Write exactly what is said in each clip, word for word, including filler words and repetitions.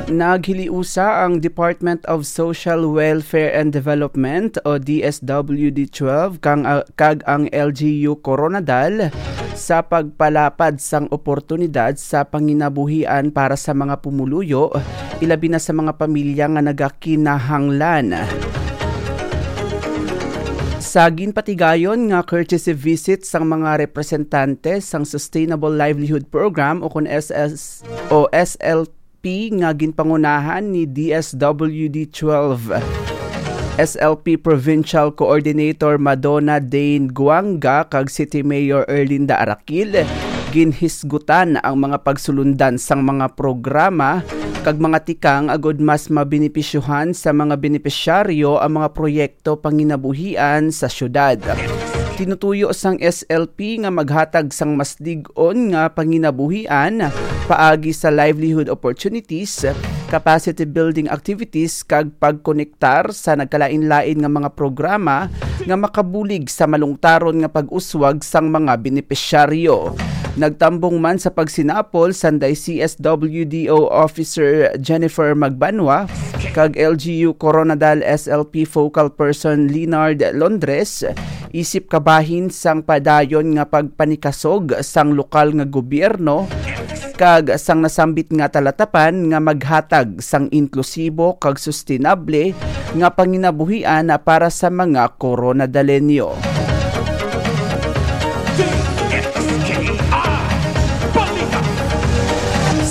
Naghiliusa ang Department of Social Welfare and Development o D S W D twelve kang, ah, kag ang L G U Koronadal sa pagpalapad sang oportunidad sa panginabuhian para sa mga pumuluyo, ilabi na sa mga pamilya nga nagakinahanglan. Sa ginpatigayon nga courtesy visit sang mga representante sang Sustainable Livelihood Program o kon S S o S L P nga ginpangunahan ni D S W D twelve S L P Provincial Coordinator Madonna Dane Guanga kag City Mayor Erlinda Arakil, ginhisgutan ang mga pagsulundan sang mga programa kag mga tikang agud mas mabenepisyuhan sa mga benepisyaryo ang mga proyekto panginabuhian sa syudad. Tinutuyo sang S L P nga maghatag sang mas lig-on nga panginabuhian paagi sa livelihood opportunities, capacity building activities, kag pagkonektar sa nagkalain-lain nga mga programa nga makabulig sa malungtaron nga pag-uswag sang mga benepisyaryo. Nagtambong man sa pagsinapol sanday C S W D O Officer Jennifer Magbanwa kag L G U Coronadal S L P Focal Person Leonard Londres, isip kabahin sang padayon nga pagpanikasog sang lokal nga gobyerno kag sang nasambit nga talatapan nga maghatag sang inklusibo kag sustenable nga panginabuhian para sa mga Coronadalenyo.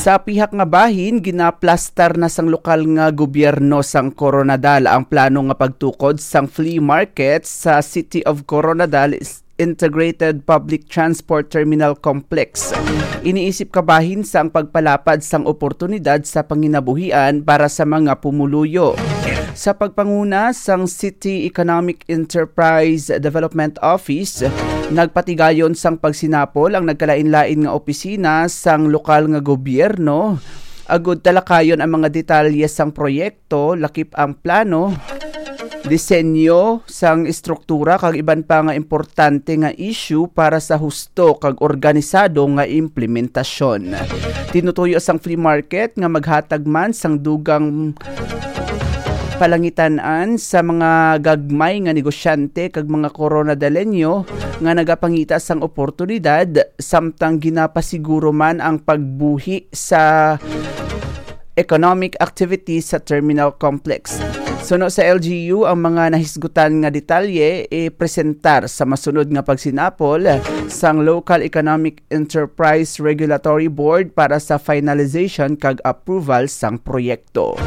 Sa pihak nga bahin, ginaplastar na sang lokal nga gobyerno sang Coronadal ang plano nga pagtukod sang flea market sa City of Coronadal Integrated Public Transport Terminal Complex. Iniisip kabahin sang pagpalapad sang oportunidad sa panginabuhian para sa mga pumuluyo. Sa pagpanguna sang City Economic Enterprise Development Office, nagpatigayon sang pagsinapol ang nagkalain-lain nga opisina sang lokal nga gobyerno agud talakayon ang mga detalye sang proyekto, lakip ang plano, disenyo sang estruktura kag iban pa nga importante nga issue para sa husto kag organisado nga implementasyon. Tinutuyo sang flea market nga maghatag man sang dugang palangitan-an sa mga gagmay nga negosyante kag mga Coronadalenyo nga nagapangita sang oportunidad samtang ginapasiguro man ang pagbuhi sa economic activities sa terminal complex. Suno sa L G U, ang mga nahisgutan nga detalye ipresentar sa masunod nga pagsinapol sang Local Economic Enterprise Regulatory Board para sa finalization kag approval sang proyekto.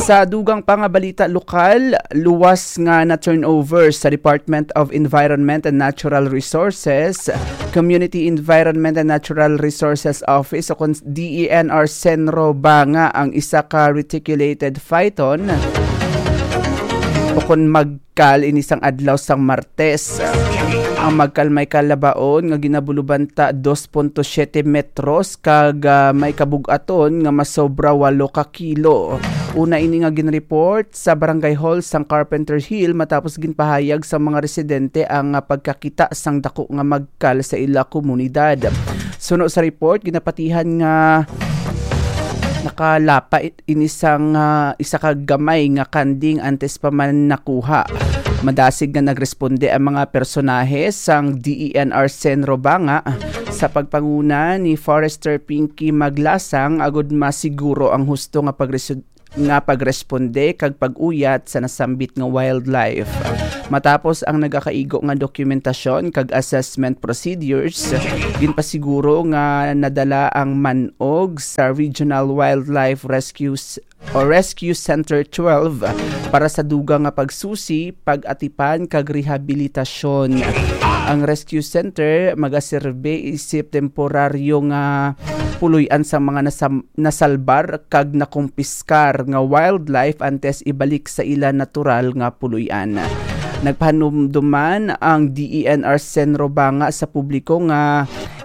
Sa dugang pa nga balita lokal, luwas nga na-turnover sa Department of Environment and Natural Resources, Community Environment and Natural Resources Office o kon D E N R Senro Banga ang isa ka reticulated phyton o kon magkal ini sang adlaw sang Martes. Ang magkal may kalabaon nga ginabulubanta dos punto siete metros kag, ah, may kabug-aton nga masobra walo ka kilo. Una ini nga ginreport sa Barangay Hall sang Carpenter Hill matapos ginpahayag sa mga residente ang, ah, pagkakita sang dako nga magkal sa ila komunidad. Suno sa report, ginapatihan nga nakalapa it-, ini sang, ah, isa ka gamay nga kanding antes pa man nakuha. Madasig nga nagresponde ang mga personahe sang D E N R Senro Banga sa pagpanguna ni Forester Pinky Maglasang agud masiguro ang husto nga pagresu-, nga pagresponde kag pag-uyat sa nasambit nga wildlife. Matapos ang nagakaigo nga dokumentasyon kag assessment procedures, ginpasiguro nga nadala ang man-og sa Regional Wildlife Rescue s-, o Rescue Center twelve para sa dugang nga pagsusi, pag-atipan kag rehabilitasyon. Ang Rescue Center magaserbe isip temporaryo nga puloy-an sa mga nasam-, nasalbar kag nakumpiskar nga wildlife antes ibalik sa ila natural nga puloy-an. Nagpahanumduman ang D E N R Senro Banga sa publiko nga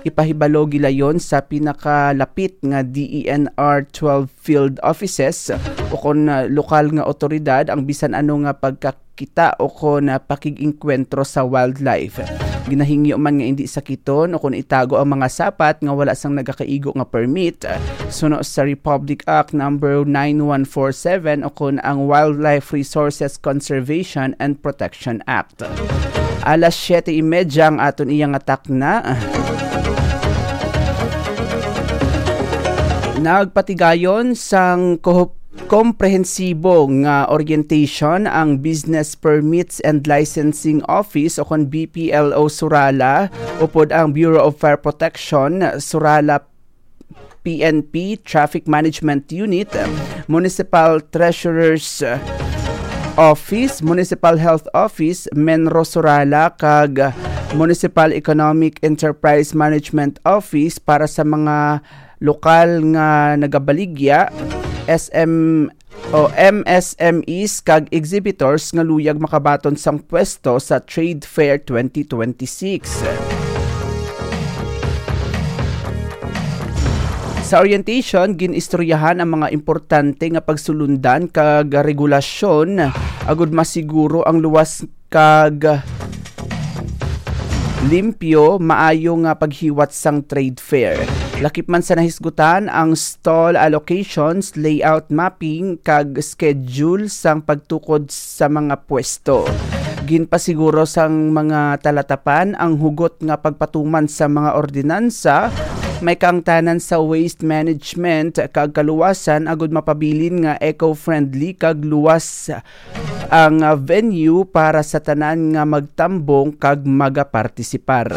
Ipahibalo gilayon sa pinakalapit nga D E N R twelve field offices o kon, ah, lokal nga otoridad ang bisan ano nga pagkakita o kon, ah, pakig-engkwentro sa wildlife. Ginahingyo man nga indi sakiton o kon itago ang mga sapat nga wala sang nagakaigo nga permit, ah, suno sa Republic Act number nine one four seven o kon ang Wildlife Resources Conservation and Protection Act. Alas siyete y media ang aton iya nga takna. Nagpatigayon sang kohop-, komprehensibo nga orientation ang Business Permits and Licensing Office o kon B P L O Surala upod ang Bureau of Fire Protection Surala P N P Traffic Management Unit, Municipal Treasurer's Office, Municipal Health Office, Menro Surala, kag Municipal Economic Enterprise Management Office para sa mga lokal nga nagabaligya, S M o M S M Es kag exhibitors nga luyag makabaton sang pwesto sa Trade Fair twenty twenty-six. Sa orientation, gin-istoryahan ang mga importante nga pagsulundan kag regulasyon agud masiguro ang luwas kag limpyo, maayo nga paghiwat sang trade fair. Lakip man sa nahisgutan ang stall allocations, layout mapping, kag schedule sang pagtukod sa mga pwesto. Ginpasiguro sang mga talatapan ang hugot nga pagpatuman sa mga ordinansa, may kaangtanan sa waste management kag kaluwasan agud mapabilin nga eco-friendly kag luwas ang, ah, venue para sa tanan nga magtambong kag magapartisipar.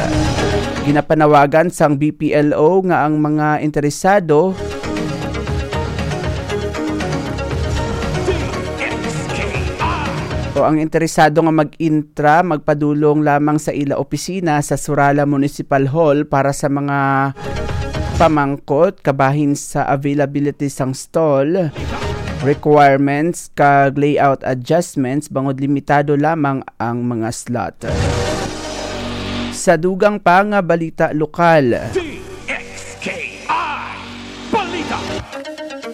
Ginapanawagan sang B P L O nga ang mga interesado o ang interesado nga mag-intra, magpadulong lamang sa ila opisina sa Surala Municipal Hall para sa mga pamangkot kabahin sa availability sang stall, requirements, kag layout adjustments bangod limitado lamang ang mga slot. Sa dugang pa nga balita lokal,